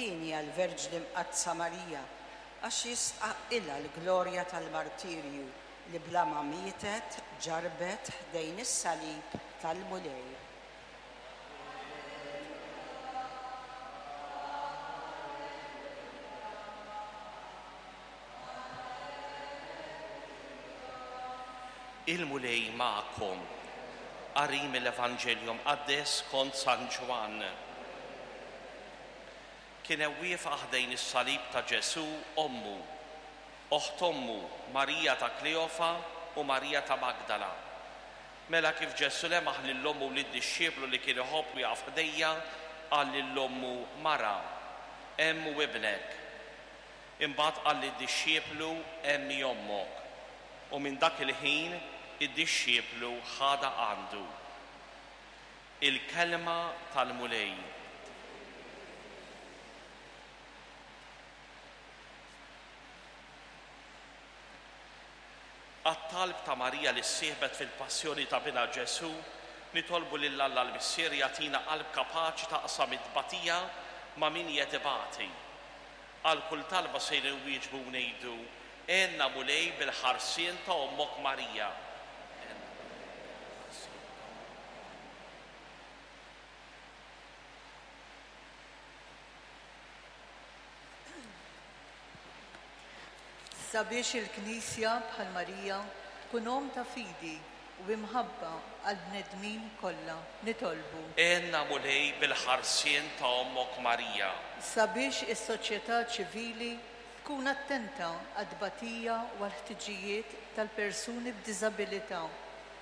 Hienja l-Verġni Mqaddsa Marija, għax jistħaqqilha l-glorja tal-martirju li bla ma mietet ġarrbet ħdejn is-salib tal-Mulej. Il-Mulej magħkom. Qari mill-Evanġelju Mqaddes skont San Ġwann. Kien hemm wieqfa ħdejn is-salib ta' Ġesù ommu, oħt ommu, Marija ta' Kleofa u Marija ta' Magdala. Mela kif Ġesù lemaħ lil ommu u lid-dixxiplu li kien iħobb wieqaf ħdejha, qal lil ommu, Mara, hemm hu ibnek. Imbagħad qal lid-dixxiplu, Hemm hi ommok. U minn dak il-ħin id-dixxiplu ħadha għandu. Il-Kelma tal-Mulej. Għat-talb ta' Marija li ssieħbet fil-passjoni ta' Binha Ġesù, nitolbu lil Alla l-Missier jagħtina qalb kapaċi taqsam it-tbatija ma' min qiegħed ibati. Għal kull talba sejrin nwieġbu u ngħidu, Għinna Mulej bil-ħarsien ta' Ommok Marija. Għinna Mulej bil-ħarsien ta' Ommok Marija. Sabiex il-Knisja, bħal Marija, tkun omm ta' fidi u imħabba għall-bnedmin kollha, nitolbu. Għinna Mulej bil-ħarsien ta' Ommok Marija. Sabiex is-soċjetà ċivili tkun attenta għat-tbatija u għall-ħtiġijiet tal-persuni b'diżabilità,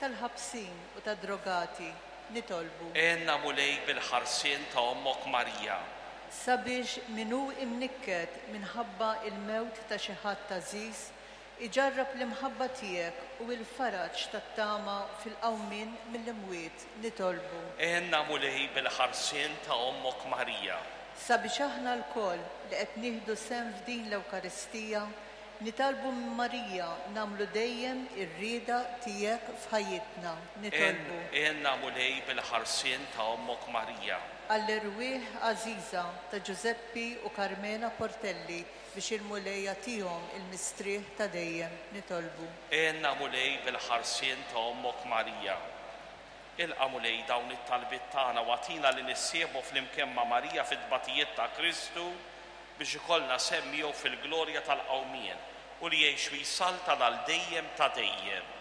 tal-ħabsin u tad-drogati, nitolbu. Għinna Mulej bil-ħarsien ta' Ommok Marija. Sabiex min hu imnikket minħabba l-mewt ta' xi ħadd għażiż iġarrab l-imħabba tiegħek u l-faraġ tat-tama fil-qawmien mill-imwiet, nitolbu. Għinna Mulej bil-ħarsien ta' Ommok Marija. Sabiex aħna lkoll li qed nieħdu sehem f'din l-Ewkaristija Nitolbu minn Marija nagħmlu dejjem ir-rieda tiegħek f'ħajjitna. Nitolbu. Għinna Mulej bil-ħarsien ta' Ommok Marija. Għall-erwieħ għażiża ta' Ġużeppi u Carmela Portelli biex il-Mulej jagħtihom il-mistrieħ ta' dejjem. Nitolbu. Għinna Mulej bil-ħarsien ta' Ommok Marija. Ilqa' Mulej dawn it-talbiet tagħna u agħtina li nissieħbu flimkien ma' Marija fit-tbatijiet ta' Kristu biex ikollna sehem miegħu fil-glorja tal-qawmien, u li jgħix u jsaltan għal dejjem ta' dejjem.